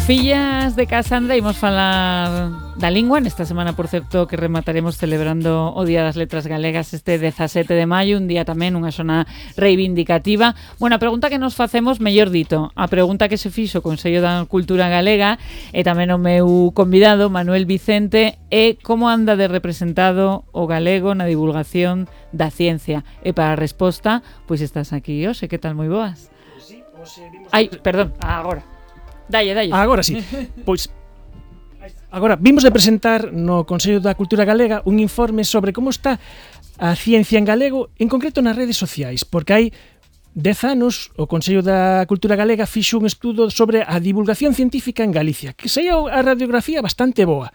Fillas de Casandra, imos falar da lingua nesta semana, por certo, que remataremos celebrando o Día das Letras Galegas este 17 de maio, un día tamén, unha zona reivindicativa. Bueno, a pregunta que nos facemos, mellor dito, a pregunta que se fixo o Consello da Cultura Galega e tamén o meu convidado, Manuel Vicente, é como anda de representado o galego na divulgación da ciencia. E para a resposta, pois estás aquí hoxe, que tal, moi boas? Sí, ai, perdón, agora. Dalle. Agora sí. Pois agora vimos de presentar no Consello da Cultura Galega un informe sobre como está a ciencia en galego, en concreto nas redes sociais, porque hai 10 anos o Consello da Cultura Galega fixo un estudo sobre a divulgación científica en Galicia, que saía a radiografía bastante boa,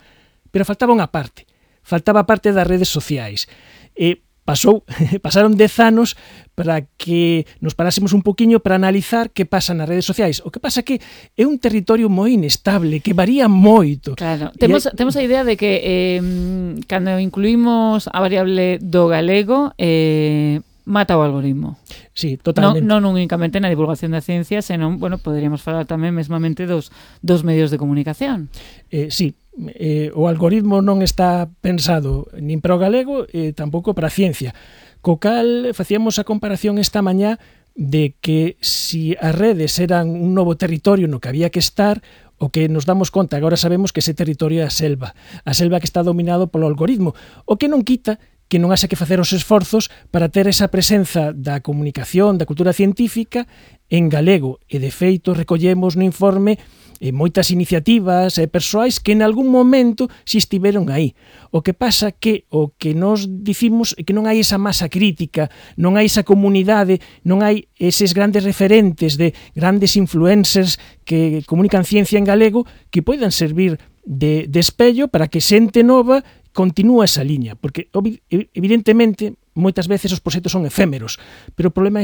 pero faltaba unha parte. Faltaba a parte das redes sociais. E pasaron 10 anos para que nos parásemos un poquinho para analizar que pasa nas redes sociais. O que pasa que é un territorio moi inestable, que varía moito. Claro, temos a idea de que cando incluímos a variable do galego, mata o algoritmo. Sí, totalmente. Non únicamente na divulgación da ciencia, senón, bueno, poderíamos falar tamén mesmamente dos medios de comunicación. Sí, o algoritmo non está pensado nin para o galego e tampouco para a ciencia. Co cal facíamos a comparación esta mañá de que si as redes eran un novo territorio no que había que estar, o que nos damos conta, agora sabemos que ese territorio é a selva que está dominado polo algoritmo, o que non quita que non haxa que facer os esforzos para ter esa presenza da comunicación, da cultura científica en galego. E, de feito, recollemos no informe moitas iniciativas persoais que en algún momento si estiveron aí. O que pasa que o que nos dicimos é que non hai esa masa crítica, non hai esa comunidade, non hai eses grandes referentes de grandes influencers que comunican ciencia en galego que poidan servir de espello para que xente nova continúa esa liña, porque evidentemente moitas veces os proxectos son efémeros, pero o problema é